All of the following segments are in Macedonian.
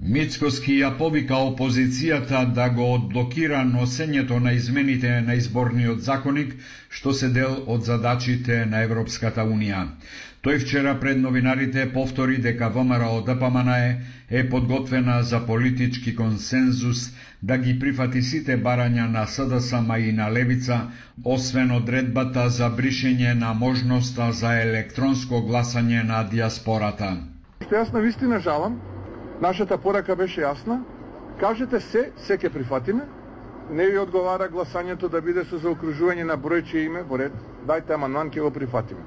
Мицкоски ја повика опозицијата да го одблокира носењето на измените на изборниот законник, што се дел од задачите на Европската Унија. Тој вчера пред новинарите повтори дека ВМРО ДПМН е подготвена за политички консензус да ги прифати сите барања на СДСМ и на Левица, освен одредбата за бришење на можноста за електронско гласање на диаспората. Што јас на вистина жалам, нашата порака беше јасна. Кажете се ќе прифатиме. Не ви одговара гласањето да биде со заокружување на бројче име во ред. Дајте амандман, ќе го прифатиме.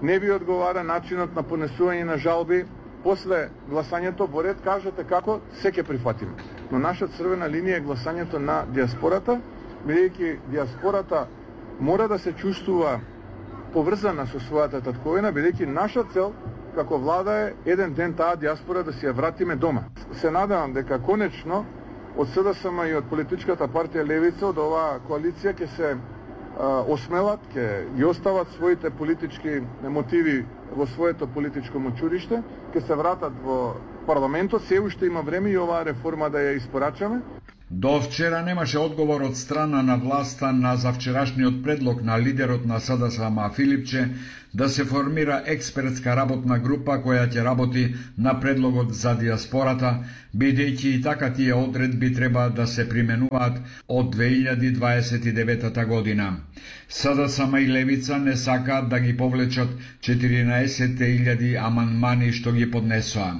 Не ви одговара начинот на понесување на жалби после гласањето во ред. Кажете како, се ќе прифатиме. Но наша црвена линија е гласањето на диаспората, бидејќи диаспората мора да се чувствува поврзана со својата татковина, бидејќи наша цел како влада е еден ден таа диаспора да си ја вратиме дома. Се надевам дека конечно од СДСМ и од политичката партија Левица, од оваа коалиција ќе се осмелат, ќе ги остават своите политички мотиви во своето политичко мочуриште, ќе се вратат во парламентот, се уште има време и оваа реформа да ја испорачаме. До вчера немаше одговор од страна на власта на завчерашниот предлог на лидерот на СДСМ Филипче да се формира експертска работна група која ќе работи на предлогот за диаспората, бидејќи и така тие одредби треба да се применуваат од 2029 година. СДСМ и Левица не сакаат да ги повлечат 14.000 амандмани што ги поднесоа.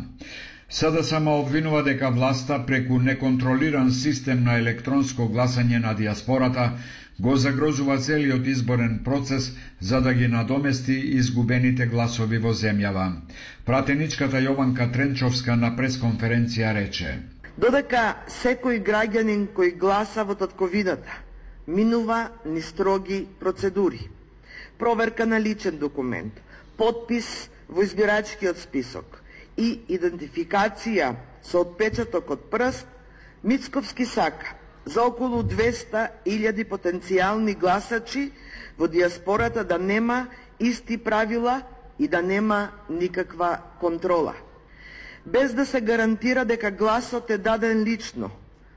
СДСМ обвинува дека власта преку неконтролиран систем на електронско гласање на диаспората го загрозува целиот изборен процес за да ги надомести изгубените гласови во земјава. Пратеничката Јованка Тренчовска на пресконференција рече: Додека секој граѓанин кој гласа во татковината минува ни строги процедури, проверка на личен документ, подпис во избирачкиот список и идентификација со отпечаток од прст, Мицковски сака за околу 200.000 потенцијални гласачи во диаспората да нема исти правила и да нема никаква контрола. Без да се гарантира дека гласот е даден лично,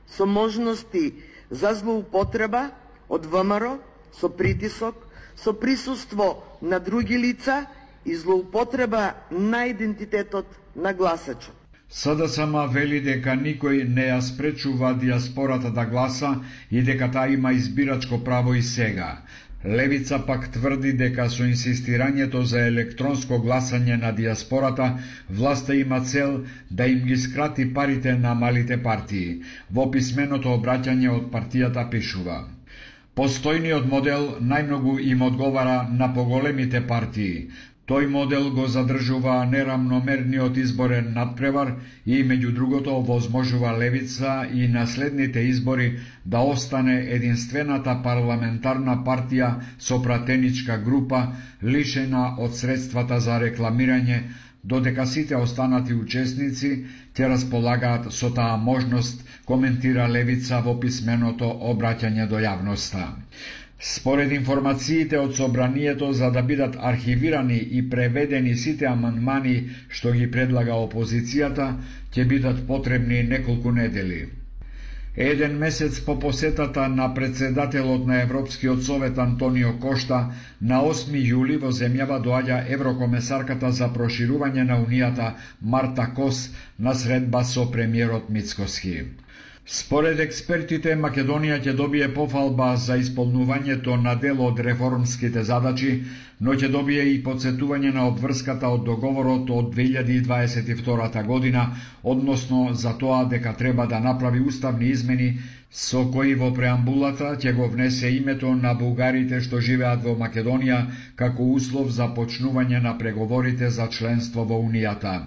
со можности за злоупотреба од ВМРО, со притисок, со присуство на други лица и злоупотреба на идентитетот на гласачот. СДСМ вели дека никој не ја спречува диаспората да гласа и дека таа има избирачко право и сега. Левица пак тврди дека со инсистирањето за електронско гласање на диаспората, власта има цел да им ги скрати парите на малите партии. Во писменото обраќање од партијата пишува: Постојниот модел најмногу им одговара на поголемите партии. Тој модел го задржува нерамномерниот изборен надпревар и, меѓу другото, овозможува Левица и на следните избори да остане единствената парламентарна партија со пратеничка група, лишена од средствата за рекламирање, додека сите останати учесници ќе располагаат со таа можност, коментира Левица во писменото обраќање до јавноста. Според информациите од собранието, за да бидат архивирани и преведени сите амандмани што ги предлага опозицијата, ќе бидат потребни неколку недели. Еден месец по посетата на председателот на Европскиот совет Антонио Кошта, на 8 јули во земјава доаѓа еврокомесарката за проширување на Унијата Марта Кос на средба со премиерот Мицкоски. Според експертите, Македонија ќе добие пофалба за исполнувањето на дел од реформските задачи, но ќе добие и подсетување на обврската од договорот од 2022 година, односно за тоа дека треба да направи уставни измени со кои во преамбулата ќе го внесе името на бугарите што живеат во Македонија како услов за почнување на преговорите за членство во Унијата.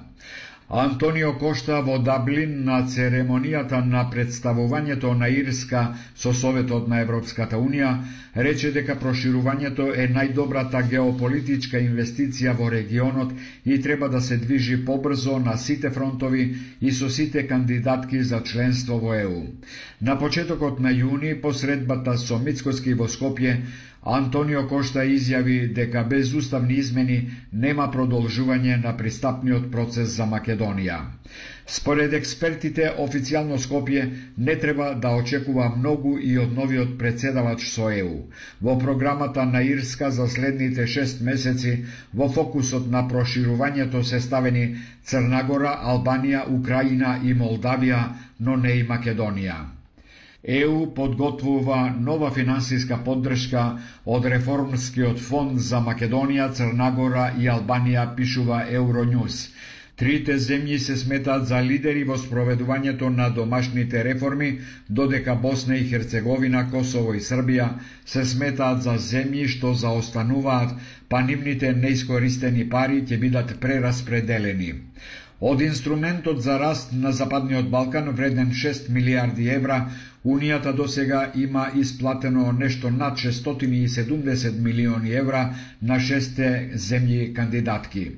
Антонио Кошта во Даблин на церемонијата на представувањето на Ирска со Советот на Европската Унија рече дека проширувањето е најдобрата геополитичка инвестиција во регионот и треба да се движи побрзо на сите фронтови и со сите кандидатки за членство во ЕУ. На почетокот на јуни, по средбата со Мицкоски во Скопје, Антонио Кошта изјави дека без уставни измени нема продолжување на пристапниот процес за Македонија. Според експертите, официјално Скопје не треба да очекува многу и од новиот председавач со ЕУ. Во програмата на Ирска за следните 6 месеци во фокусот на проширувањето се ставени Црна Гора, Албанија, Украина и Молдавија, но не и Македонија. ЕУ подготвува нова финансиска поддршка од Реформскиот фонд за Македонија, Црна Гора и Албанија, пишува Euronews. Трите земји се сметаат за лидери во спроведувањето на домашните реформи, додека Босна и Херцеговина, Косово и Србија се сметаат за земји што заостануваат, па нивните неискористени пари ќе бидат прераспределени. Од инструментот за раст на Западниот Балкан, вреден 6 милиарди евра, Унијата досега има исплатено нешто над 670 милиони евра на 6 земји кандидатки.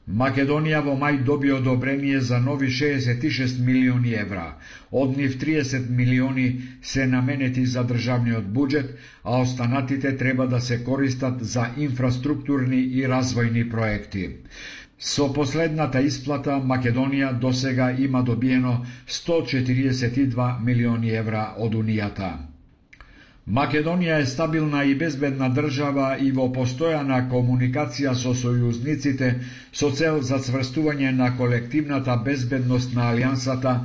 Македонија во мај доби одобрение за нови 66 милиони евра. Од нив 30 милиони се наменети за државниот буџет, а останатите треба да се користат за инфраструктурни и развојни проекти. Со последната исплата Македонија досега има добиено 142 милиони евра од Унијата. Македонија е стабилна и безбедна држава и во постојана комуникација со сојузниците со цел за цврстување на колективната безбедност на алијансата,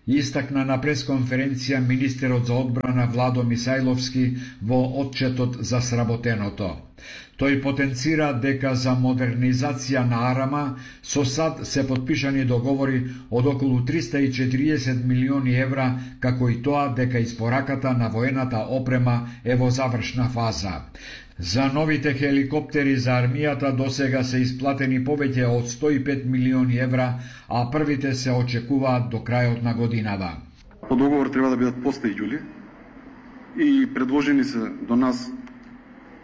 истакна на пресконференција министерот за одбрана Владо Мисајловски во отчетот за сработеното. Тој потенцира дека за модернизација на Арама со САД се подпишани договори од околу 340 милиони евра, како и тоа дека испораката на воената опрема е во завршна фаза. За новите хеликоптери за армијата досега се исплатени повеќе од 105 милиони евра, а првите се очекуваат до крајот на годината. По договор треба да бидат после јули и предложени се до нас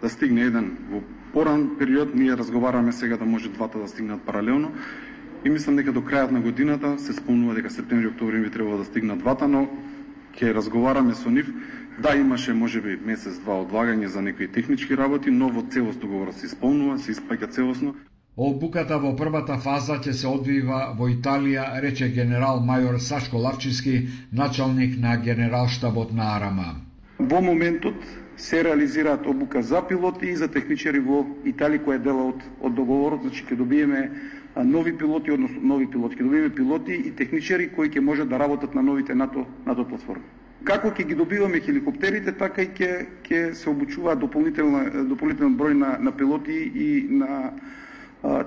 да стигне еден во поран период. Ние разговараме сега да може двата да стигнат паралелно и мислам дека до крајот на годината се спомнува дека септември, октомври би требало да стигнат двата, но ќе разговараме со нив. Да, имаше можеби месец-два одлагање за некои технички работи, но во целост договорот се исполнува, се испаќа целосно. Обуката во првата фаза ќе се одвива во Италија, рече генерал мајор Сашко Лавчевски, началник на генералштабот на Арама. Во моментот се реализираат обука за пилоти и за техничари во Италија, која е дела од договорот, значи ќе добиеме нови пилоти, односно нови пилоти, ќе добиеме пилоти и техничари кои ќе можат да работат на новите НАТО платформи. Како ќе ги добиваме хеликоптерите, така и ќе се обучуваат дополнителен број на пилоти и на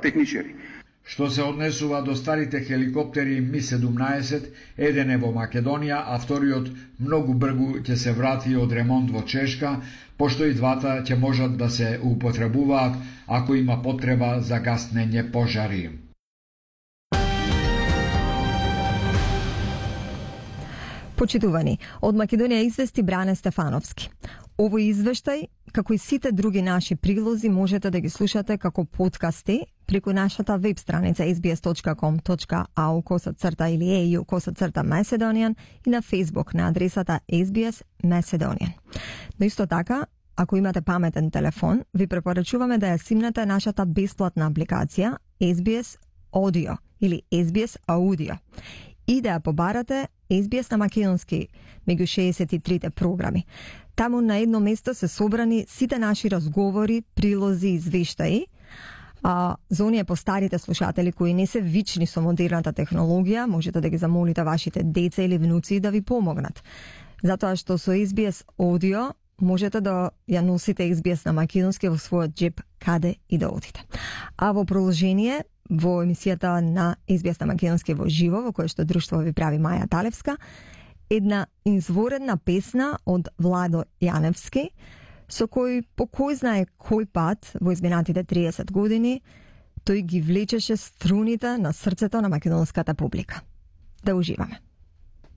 техничари. Што се однесува до старите хеликоптери Ми-17, еден е во Македонија, а вториот многу брзо ќе се врати од ремонт во Чешка, пошто и двата ќе можат да се употребуваат ако има потреба за гаснење пожари. Почитувани, од Македонија извести Бране Стефановски. Овој извештај, како и сите други наши прилози, можете да ги слушате како подкасти преку нашата веб страница sbs.com.au/ или EU/Macedonian и на Facebook на адресата SBS Macedonian. Но исто така, ако имате паметен телефон, ви препорачуваме да ја симнете нашата бесплатна апликација SBS Audio или SBS Audio и да ја побарате SBS на македонски меѓу 63 програми. Таму на едно место се собрани сите наши разговори, прилози и извештаи. За оние постарите слушатели кои не се вични со модерната технологија, можете да ги замолите вашите деца или внуци да ви помогнат. Затоа што со SBS Audio можете да ја носите SBS на македонски во својот джеб каде и да одите. А во продолжение, во емисијата на SBS на македонски во живо, во која што друштво ви прави Маја Талевска, една изворедна песна од Владо Јаневски, со кој по кој знае кој пат во изминатите 30 години тој ги влечеше струните на срцето на македонската публика. Да уживаме.